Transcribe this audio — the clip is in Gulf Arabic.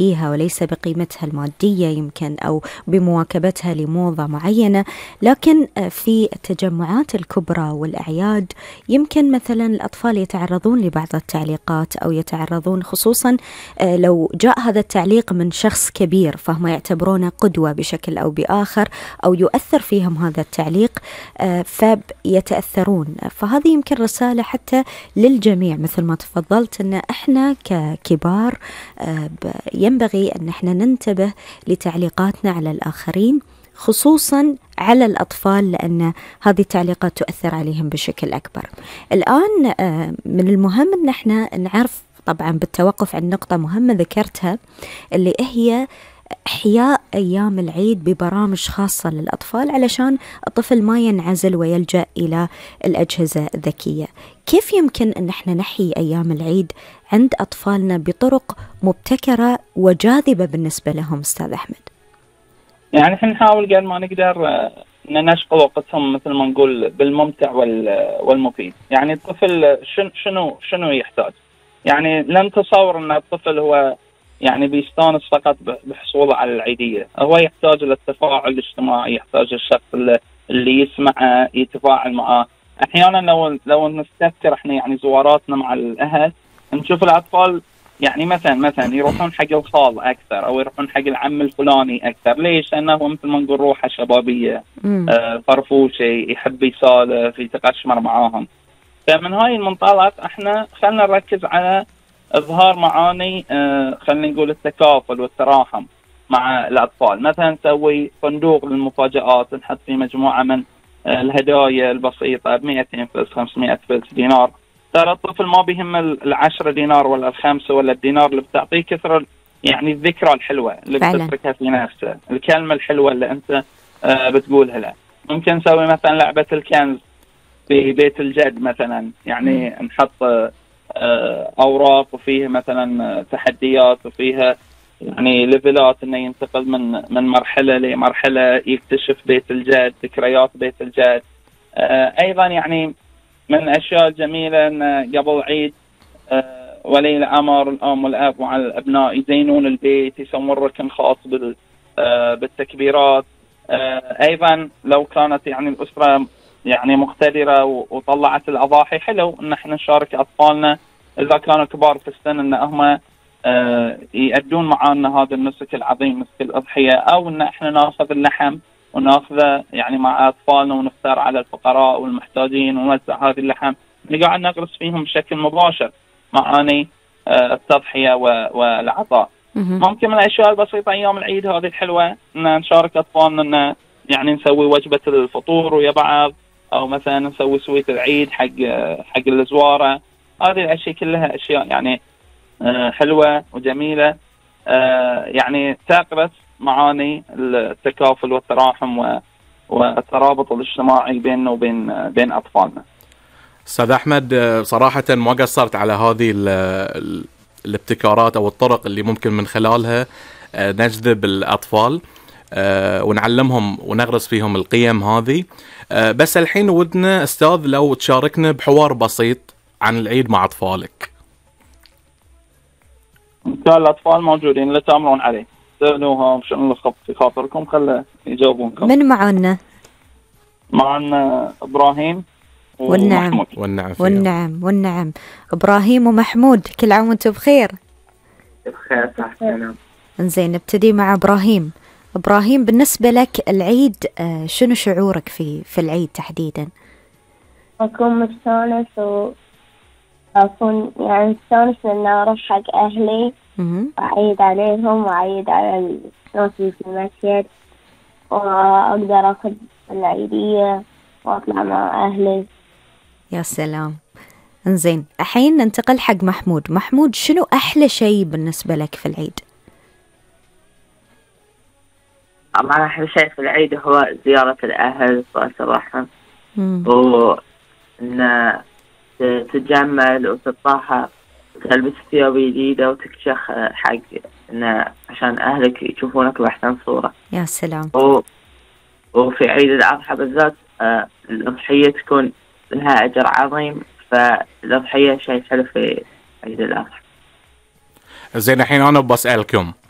بأيديها وليس بقيمتها المادية يمكن أو بمواكبتها لموضة معينة، لكن في التجمعات الكبرى والأعياد يمكن مثلا الأطفال يتعرضون لبعض التعليقات أو يتعرضون، خصوصا لو جاء هذا التعليق من شخص كبير فهم يعتبرونه قدوة بشكل أو بآخر، أو يؤثر فيهم هذا التعليق فيتأثرون. فهذه يمكن رسالة حتى للجميع مثل ما تفضلت، أن إحنا ككبار ينبغي أن إحنا ننتبه لتعليقاتنا على الآخرين، خصوصا على الأطفال، لأن هذه التعليقات تؤثر عليهم بشكل أكبر. الآن من المهم أن إحنا نعرف طبعا بالتوقف عن نقطة مهمة ذكرتها، اللي هي إحياء أيام العيد ببرامج خاصة للأطفال علشان الطفل ما ينعزل ويلجأ إلى الأجهزة الذكية. كيف يمكن أن احنا نحيي أيام العيد عند أطفالنا بطرق مبتكرة وجاذبة بالنسبة لهم أستاذ أحمد؟ يعني احنا نحاول قد ما نقدر ان نشغل وقتهم مثل ما نقول بالممتع والمفيد. يعني الطفل شنو يحتاج؟ يعني لا نتصور ان الطفل هو يعني بيستانس فقط بحصوله على العيدية، هو يحتاج للتفاعل الاجتماعي، يحتاج الشخص اللي يسمعه يتفاعل معه. احيانا لو نستذكر احنا يعني زواراتنا مع الاهل نشوف الاطفال يعني مثلا يروحون حق الخال اكثر او يروحون حق العم الفلاني اكثر. ليش؟ لانه مثل ما نقول روحه شبابيه، فرفوشه، يحب يسولف، يتقشمر معاهم. فمن هاي المنطلق احنا خلينا نركز على اظهار معاني خلينا نقول التكافل والتراحم مع الاطفال. مثلا نسوي صندوق للمفاجآت، نحط فيه مجموعه من الهدايا البسيطه ب 200 فلس 500 فلس دينار. ترى الطفل ما بيهم ال10 دينار ولا ال5 ولا الدينار اللي بتعطيه، كثر يعني الذكرى الحلوه اللي بتتركها في نفسه، الكلمه الحلوه اللي انت بتقولها له. ممكن نسوي مثلا لعبه الكنز في بيت الجد مثلا، يعني نحط اوراق وفيها مثلا تحديات وفيها يعني ليفلات، انه ينتقل من مرحله لمرحله، يكتشف بيت الجد، ذكريات بيت الجد. ايضا يعني من الاشياء الجميله ان قبل عيد ولي الامر الام والاب مع الابناء يزينون البيت، يسوون ركن خاص بالتكبيرات. ايضا لو كانت يعني الاسره يعني مقتدره وطلعت الاضاحي، حلو ان احنا نشارك اطفالنا اذا كانوا كبار في السن ان هم يأدون معنا هذا النسك العظيم، نسك الاضحيه، او ان احنا ناخذ اللحم وناخذه يعني مع اطفالنا ونفطر على الفقراء والمحتاجين ونوزع هذه اللحم، نقعد نغرس فيهم بشكل مباشر معاني التضحيه والعطاء. ممكن من الاشياء البسيطه ايام العيد هذه الحلوه ان نشارك اطفالنا ان يعني نسوي وجبه الفطور ويا بعض، او مثلا نسوي سويت العيد حق الزواره. هذه الاشياء كلها اشياء يعني حلوه وجميله، يعني تغرس معاني التكافل والتراحم والترابط الاجتماعي بيننا وبين اطفالنا. استاذ احمد، صراحه ما قصرت على هذه الابتكارات او الطرق اللي ممكن من خلالها نجذب الاطفال ونعلمهم ونغرس فيهم القيم هذه. بس الحين ودنا استاذ لو تشاركنا بحوار بسيط عن العيد مع اطفالك. كان الاطفال موجودين لا تامرون عليه، سألوهم شنو اللي في خاطركم، خلى يجاوبونكم. من معنا؟ معنا ابراهيم والنعم والنعم ابراهيم ومحمود، كل عام وانتم بخير. بخير صح. انزين نبتدي مع ابراهيم. بالنسبه لك العيد شنو شعورك في العيد تحديدا؟ اكون مستانس اكون يعني مستانس ان اروح حق اهلي واعيد عليهم واعيد على الناس اللي في المسجد، واقدر اخذ العيديه واطلع مع اهلي. يا سلام. انزين الحين ننتقل حق محمود. شنو احلى شيء بالنسبه لك في العيد؟ طبعا احلى شيء في العيد هو زياره الاهل وصلة الرحم، وان تتجمل وتطهر وتلبس ثياب جديده وتكشخ حق إن عشان اهلك يشوفونك باحسن صوره. يا سلام. وفي عيد الاضحى بالذات الاضحيه تكون لها اجر عظيم، فالاضحيه شيء حلو في عيد الاضحى. زين الحين انا بسألكم